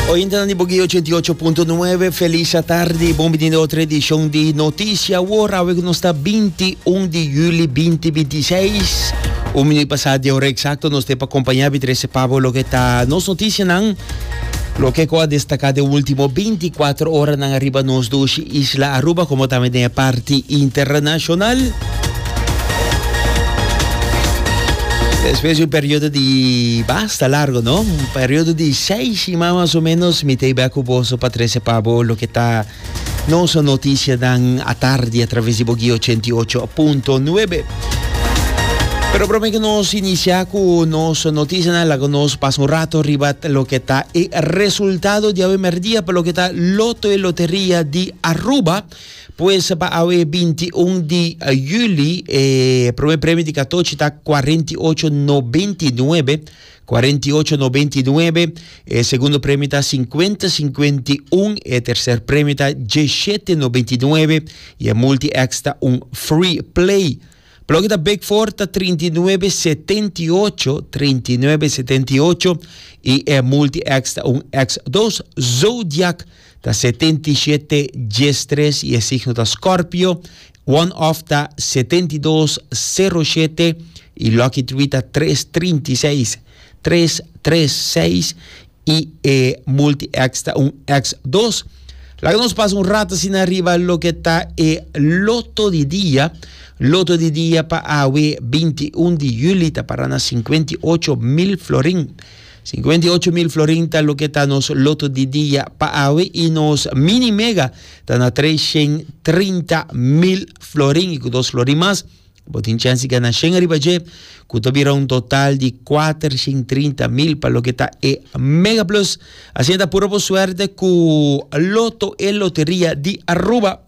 Oyentenan di Boguí 88.9, feliz tarde, bon bini na otra edicion di Noticia Awor, awe ku nos ta 21 di juli 2026. Un minuut pasá di ora exacto nos te pa acompañá bi trece pa bo loke ta nos noticianan, loke ku a destaká den último 24 oranan ariba nos dushi isla Aruba como tambe den e parti internacional. Despues di un periodo di basta largo, no? Un periodo di seis siman mas o menos, mi ta bek ku boso pa trese pa bo loke ta nos noticianan atardi a traves di Boguí 88.9. Pero prome ku nos inicia ku nos noticianan, laga nos pasa un rato riba loke ta e resultado di awe merdia pa loke ta Loto e Loteria di Aruba. Pues pa awe 21 di juli e prome premio di katochi ta 48,99, 48,99, e segundo premio ta 50,51, e tercer premio ta 17,99 y e multi X ta un free play. Pa loke ta Big Four ta 39,78, 39,78 y e multi X ta un X2. Zodiac ta 77, 13 y e signo ta Scorpio. One Off ta 72, 07 y Lucky Three ta 336, 336 y e Multi X ta un X2. Laga nos pasa un rato asina riba loke ta e loto di dia. Loto di dia pa awe 21 di juli ta para na 58 mil florin. 58 mil florin ta loke ta nos loto di dia pa awe y nos mini mega ta na 330 mil florin y cu dos florin mas bo tin chance di gana shen ariba dje cu ta bira un total di 430 mil pa loke ta e mega plus. Asina ta puro bo suerte cu Loto e Loteria di Aruba.